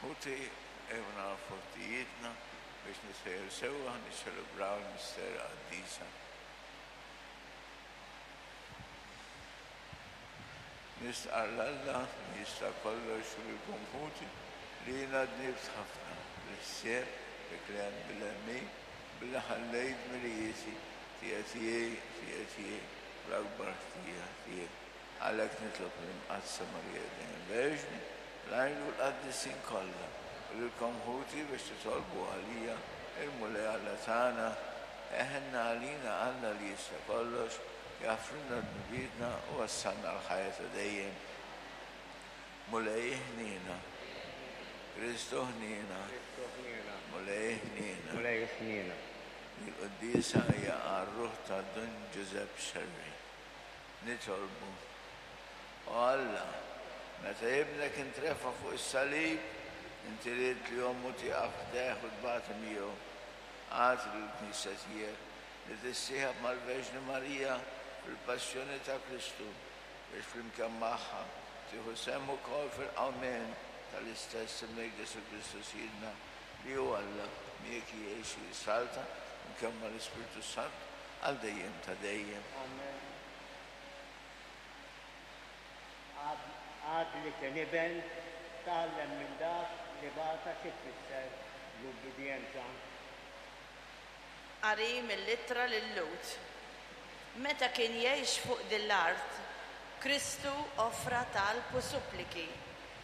Ħuti, ejjew nagħrfu ħtijietna biex nitħejjew sewwa ħa niċċelebraw il-misteri qaddisa. Nistqarr 'l Alla li jista' kollox u lilkom ħuti li jiena dnibt ħafna, bil-ħsieb, bil-kliem, bil-għemil, billi ħallejt dmirijieti, ħtija tiegħi, ħtija tiegħi, l-akbar ħtija tiegħi. Għalhekk nitlob lill-Imqaddsa Marija dejjem Verġni, l-anġli u l-qaddisin kollha, u lilkom ħuti biex titolbu għalija il-Mulej Alla tagħna. Eħenna għalina Alla li jista' kollox, jaħfrilna dnubietna u wassalna għall-ħajja ta' dejjem. Mulej ħniena. Kristu ħniena. Mulej ħniena. Mulej ħniena. Il-quddiesa hija għar-ruħ ta' Dun Ġużepp Scerri. Nitolbu. O Alla, meta Ibnek intrefa' fuq is-salib, inti ridt li ommu tieqaf ħdejh u tbati miegħu. Agħti lill-Knisja tiegħek li tissieħeb mal-Verġni Marija fil-passjoni ta' Kristu, biex flimkien magħha tieħu sehem ukoll fil-qawmien tal-istess Ibnek Ġesù Kristu Sidna, li hu Alla, miegħek jgħix u jissaltan flimkien mal-Ispirtu s-Santu għal dejjem ta' dejjem. Amen. Għad li kien iben, tgħallem minn dak li bata xi tfisser l-ubbidjenza. Qari mill-Ittra lil-Lhud. Meta kien jgħix fuq din l-art, Kristu offra talb u suppliki,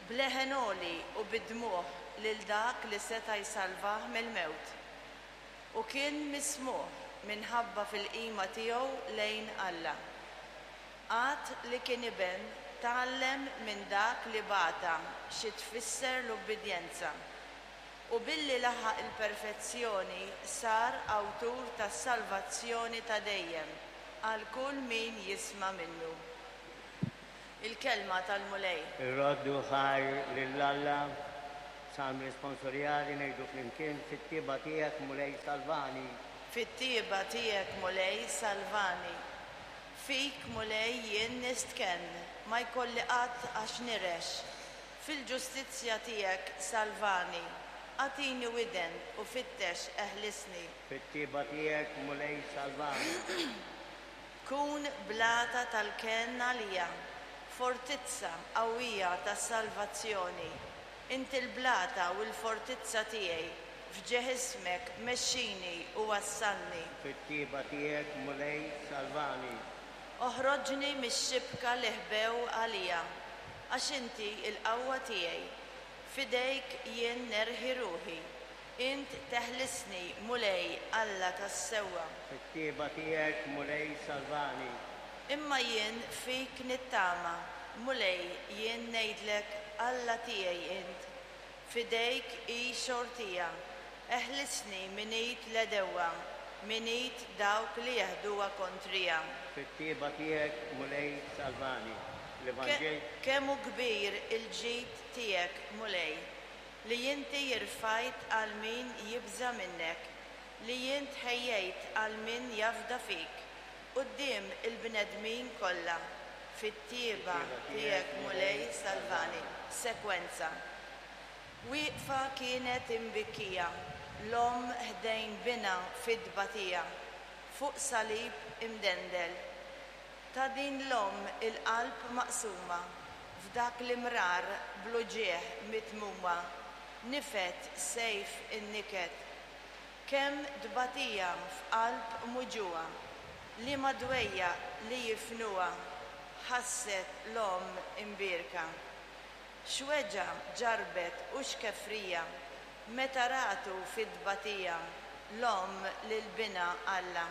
b'leħen għoli u bid-dmugħ lil dak li seta' jsalvah mill-mewt. U kien mismugħ minħabba fil-qima tiegħu lejn Alla. Għad li kien iben, tgħallem minn dak li bata xi tfisser l-ubbidjenza. U billi laħaq il-perfezzjoni sar awtur tas-salvazzjoni ta' dejjem għal kull min jisma' minnu. Il-Kelma tal-Mulej. Irroddu ħajr lil Alla, Salm responsorjali ngħidu flimkien, Fit-tjieba tiegħek, Mulej, salvani. Fit-tjieba tiegħek, Mulej, salvani. Fik, Mulej, jien nistkenn, ma jkolli qatt għax nirex. Fil-ġustizzja tiegħek salvani, agħtini widen u fittex eħlisni. Fit-tjieba tiegħek, Mulej, salvani. Kun blata tal-kenn għalija, fortizza qawwija tas-salvazzjoni. Inti l-blata u l-fortizza tiegħi, f'ġieħ ismek mexxini u wassalni. Fit-tjieba tiegħek, Mulej, salvani. Oħroġni mix-xibka li ħbew għalija, għax inti l-qawwa tiegħi. F'idejk jien nerħi ruħi. Int teħlisni, Mulej, Alla tas-sewwa. Fit-tjieba tiegħek, Mulej, salvani. Imma jien fik nittama, Mulej, jien ngħidlek, Alla tiegħi int. F'idejk hi xortija. Eħlisni minn id l-għedewwa, minn id dawk li jeħduha kontrija. Fit-tjieba tiegħek, Mulej, salvani. L-Evanġel. Kemm hu kbir il-ġid tiegħek, Mulej, li inti rfajt għal min jibża' minnek, li int ħejjejt għal min jafda fik, quddiem il-bnedmin kollha. Fit-tjieba tiegħek, Mulej, salvani. Sekwenza. Wieqfa kienet imbikkija l-omm ħdejn binha fit-tbatija, fuq salib imdendel. Ta' din l-omm il-qalb maqsuma, f'dak l-imrar bl-uġigħ mitmuma, nifed sejf in-niket. Kemm tbatija f'qalb muġugħa, liema dwejjaq li jifnuha ħasset l-omm imbierka. X'weġgħa ġarrbet u x'kefrija meta ratu fit-tbatija l-omm lil binha Alla.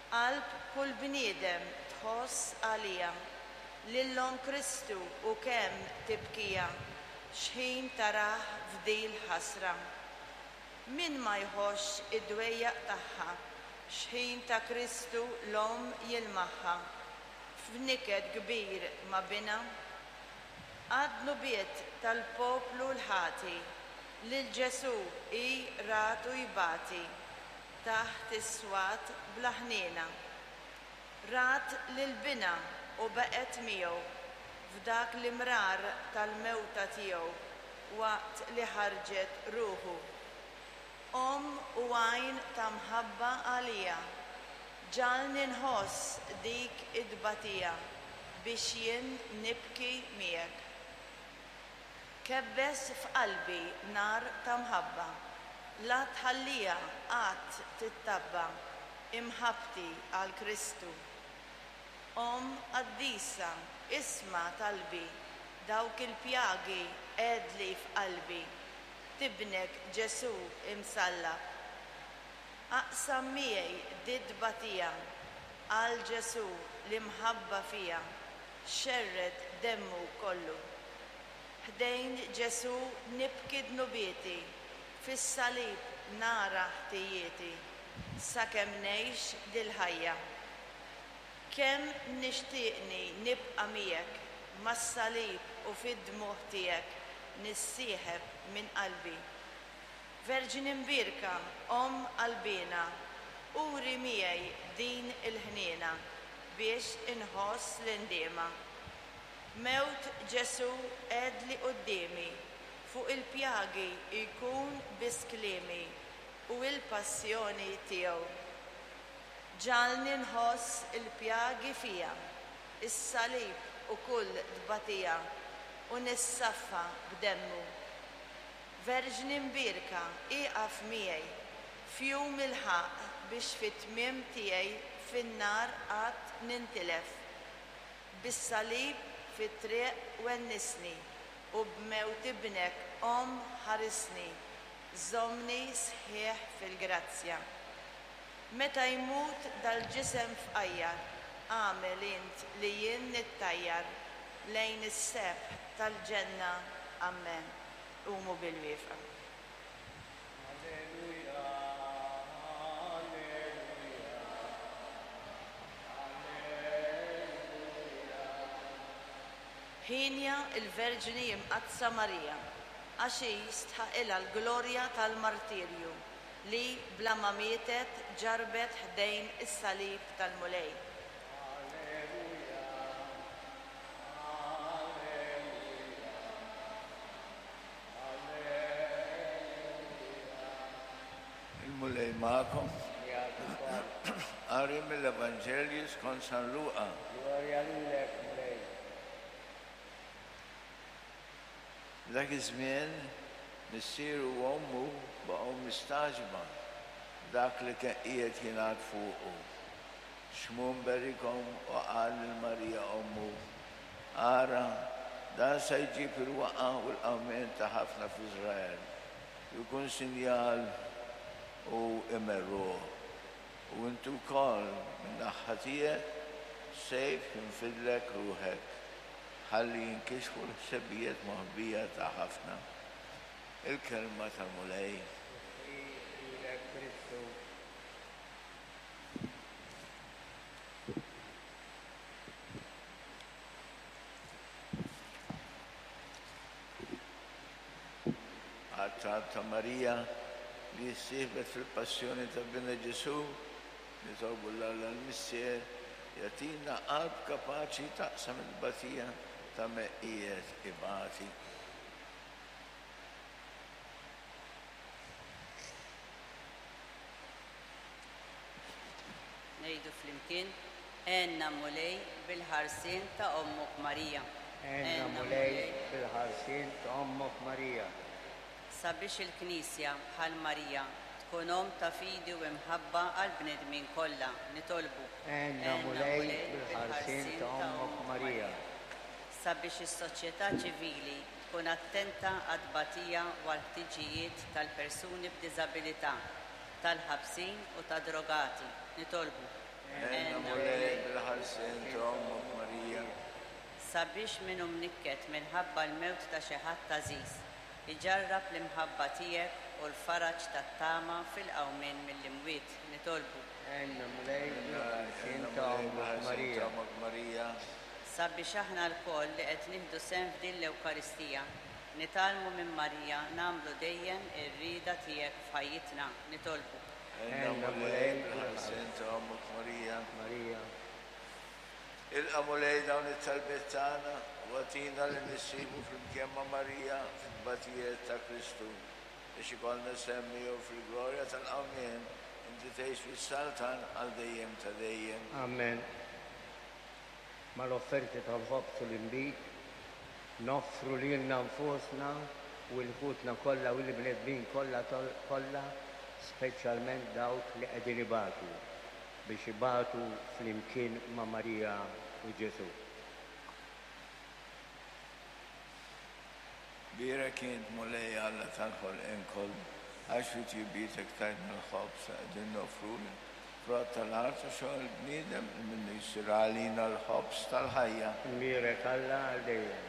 Qalb kull bniedem tħoss għaliha lil Omm Kristu u kemm tibkiha x'ħin tarah f'dil-ħasra. Min ma jħossx id-dwejjaq tagħha x'ħin ta' Kristu l-Omm jilmaħha f'niket kbir ma' binha? Għad-dnubiet tal-poplu l-ħati lil Ġesù hi ratu jbati taħt is-swat bla ħniena. Rat lil binha u baqgħet miegħu f'dak l-imrar tal-mewta tiegħu. waqt li ħarġet ruħu. Omm u għajn ta' mħabba għalija, ġagħalni nħoss dik it-tbatija biex jien nibki miegħek. Kebbes f'qalbi nar ta' mħabba, la tħalliha qatt tittabba' imħabbti għal Kristu. Omm qaddisa, isma' talbi, dawk il-pjagi għedli f'qalbi, t'Ibnek Ġesù imsallab. Aqsam miegħi dit-tbatija, għal Ġesù l-imħabba fija xerred demmu kollu. Ħdejn Ġesù nibki dnubieti, fis-salib nara ħtijieti, sakemm ngħix dil-ħajja. Kemm nixtieqni nibqa' miegħek, mas-salib u fid-dmugħ tiegħek nissieħeb minn qalbi. Verġni Mbierka, Omm qalbiena, uri miegħi din il-ħniena biex inħoss l-indiema. Mewt Ġesù għedli quddiemi, fuq il-pjagi jkun biss kliemi u l-passjoni tiegħu. Ġagħalni nħoss il-pjagi fija, is-salib u kull tbatija u nissaffa b'demmu. Verġni Mbierka, ieqaf miegħi f'jum il-ħaqq biex fit-tmiem tiegħi fin-nar qatt nintilef. Bis-salib fit-triq wennisni u b'mewt Ibnek Omm ħarisni, żommni sħiħ fil-grazzja. Meta jmut dal-ġisem fqajjar, agħmel int li jien nittajjar lejn is-sebħ tal-ġenna. Ammen. Qumu bil-wieqfa. Alleluja, alleluja, alleluja. Hienja l-Verġni Imqaddsa Marija, għax hi stħaqilha l-glorja tal-martirju li bla ma mietet ġarrbet ħdejn is-salib tal-Mulej. Alleluja, alleluja, alleluja. Il-Mulej magħkom. Miegħek ukoll. Qari mill-Evanġelju skont San Luqa. Glorja lilek, Mulej. F'dak iż-żmien, missieru u ommu baqgħu mistagħġba b'dak li kien qiegħed jingħad fuqu. Xmun berikhom u qal lil Marija ommu, Ara, dan se jġib il-waqgħa u l-qawmien ta' ħafna f'Iżrael, u jkun sinjal u imerruh. U inti wkoll, min-naħa tiegħek, sejf jinfidlek ruħek, ħalli jinkixfu l-ħsebijiet moħbija ta' ħafna. Il-Kelma tal-Mulej. Tifħir lilek Kristu. Għat-talb ta' Marija li ssieħbet fil-passjoni ta' Binha Ġesù, nitolbu 'l Alla l-Missier jagħtina qalb kapaċi taqsam it-tbatija ta' min qiegħed ibati. Ngħidu flimkien, Għenna Mulej bil-ħarsien ta' Ommok Marija. Għenna Mulej bil-ħarsien ta' Ommok Marija. Sabiex il-Knisja, bħal Marija, tkun omm ta' fidi u imħabba għall-bnedmin kollha, nitolbu. Għenna Mulej bil-ħarsien ta' Ommok Marija. Sabiex is-soċjetà ċivili tkun attenta għat-tbatija u għall-ħtiġijiet tal-persuni b'diżabilità, tal-ħabsin u tad-drogati, nitolbu. Għenna Mulej bil-ħarsien ta' Ommok Marija. Sabiex min hu mnikket minħabba l-mewt ta' xi ħadd għażiż, iġarrab l-imħabba tiegħek u l-faraġ tat-tama fil-qawmien mill-imwiet, nitolbu. Għenna Mulej bil-ħarsien ta' Ommok Marija. Sabiex aħna lkoll li qed nieħdu sehem f'din l-Ewkaristija, nitgħallmu minn Marija nagħmlu dejjem ir-rieda tiegħek f'ħajjitna, nitolbu. Għenna Mulej bil-ħarsien ta' Ommok Marija. Marija. Ilqa' Mulej dawn it-talbiet tagħna U agħtina li nissibu flimkien ma' Marija fit-tbatijiet ta' Kristu, biex ikollna sehem miegħu fil-glorja tal-qawmien, inti tgħix fis-saltan għal dejjem ta' dejjem. Amen. Mal-offerti tal-ħobż u l-inbid, noffru lilna nfusna u 'l ħutna kollha u l-bnedmin kollha kollha, speċjalment dawk li qegħdin ibatu, biex ibatu flimkien ma' Marija u Ġesù. Bierek int, Mulej Alla tal-ħolqien kollu, għax fi tjubietek tajtna l-ħobż li qegħdin noffrulek, frott tal-art u xogħol il-bniedem li minnu jsir għalina l-ħobż tal-ħajja. Imbierek Alla għal dejjem.